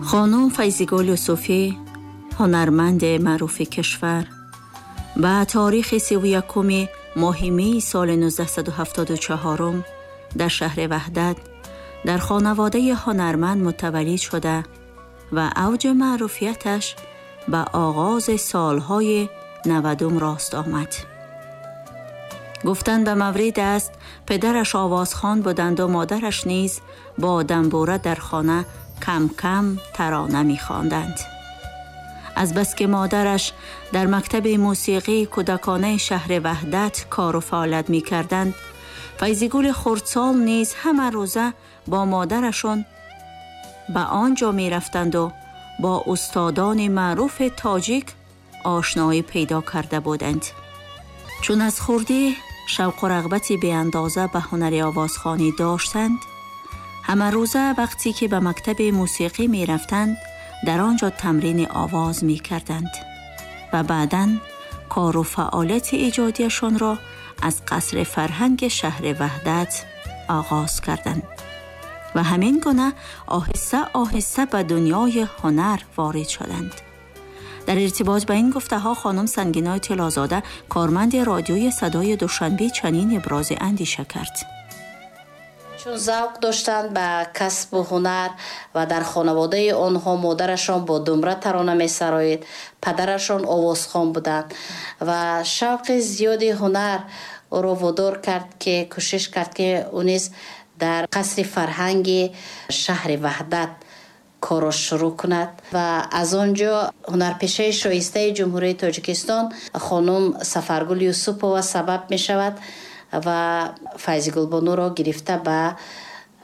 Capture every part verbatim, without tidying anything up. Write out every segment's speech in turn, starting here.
Хонум Файзигул Юсуфӣ, ҳунарманди маъруфи кишвар, ба таърихи сиву якуми моҳи меи соли нуздаҳсаду ҳафтоду чаҳорум дар шаҳри Ваҳдат дар хонаводаи ҳунарманд мутаваллид шуда ва авҷи маъруфияташ ба оғози солҳои навадум рост омад. Гуфтан ба маврид аст, падараш овозхон буданд ва модараш низ бо дамбура дар хона кам-кам тарона мехонданд. Аз бас ки модараш дар мактаби мусиқии кӯдаконаи шаҳри Ваҳдат кору фаъолият мекарданд, Файзигули хурдсол низ ҳама рӯза бо модарашон ба он ҷо мерафтанду бо устодони маъруфи тоҷик ошноӣ пайдо карда буданд. Чун аз хурдӣ шавқу рағбати беандоза ба ҳунари овозхонӣ доштанд, ҳама рӯза вақте ки ба мактаби мусиқӣ мерафтанд, дар он ҷо тамрини овоз мекарданд ва баъдан кору фаъолияти эҷодияшонро аз қасри фарҳанги шаҳри Ваҳдат оғоз карданд ва ҳамин гуна оҳиста оҳиста ба дунёи ҳунар ворид шуданд. Дар иртибот ба ин гуфтаҳо хонум Сангинои Тиллозода, корманди радиои Садои Душанбе, чунин ибрози андеша кард. Чун завқ доштанд ба касбу ҳунар ва дар хонаводаи онҳо модарашон бо думра тарона месароид, падарашон овозхон буданд ва шавқи зиёди ҳунар ӯро водор кард, ки кӯшиш кард, ки ӯ низ дар қасри фарҳанги шаҳри Ваҳдат корро шурӯъ кунад ва аз он ҷо ҳунарпешаи шоистаи Ҷумҳурии Тоҷикистон хонум Сафаргул Юсупова сабаб мешавад ва Файзигулбонуро гирифта ба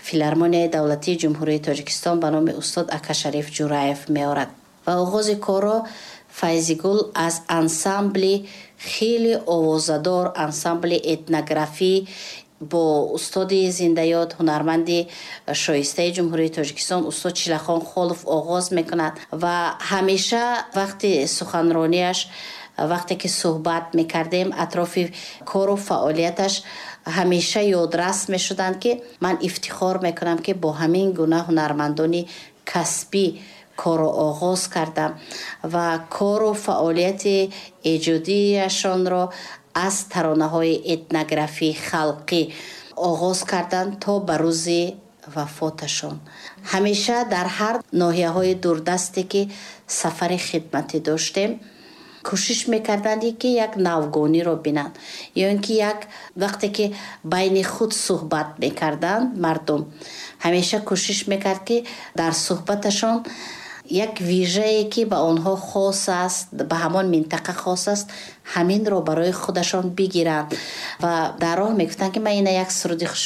Филармонияи давлатии Ҷумҳурии Тоҷикистон ба номи устод Акашариф Ҷураев меорад. Ва оғози корро Файзигул аз ансамбли хеле овозадор, ансамбли этнографӣ бо устоди зиндаёд, ҳунарманди шоистаи Ҷумҳурии Тоҷикистон устод Чилахон Холов оғоз мекунад. Ва ҳамеша вақти суханронияш, вақте ки суҳбат мекардем атрофи кору фаъолияташ, ҳамеша ёдрас мешуданд, ки ман ифтихор мекунам, ки бо ҳамин гуна ҳунармандони касбӣ корро оғоз кардам. Ва кору фаъолияти эҷодияшонро аз таронаҳои этнографии халқӣ оғоз карданд то ба рӯзи вафоташон. Ҳамеша дар ҳар ноҳияҳои дурдасте ки сафари хидматӣ доштем, кӯшиш мекарданд, ки як навгониро бинанд ё ин ки як вақте ки байни худ суҳбат мекарданд, мардум ҳамеша кӯшиш мекард, ки дар суҳбаташон як вижае, ки ба онҳо хос аст, ба ҳамон минтақа хос аст, ҳаминро барои худашон бигиранд. Ва дар роҳ мегуфтанд, ки ман ина як суруди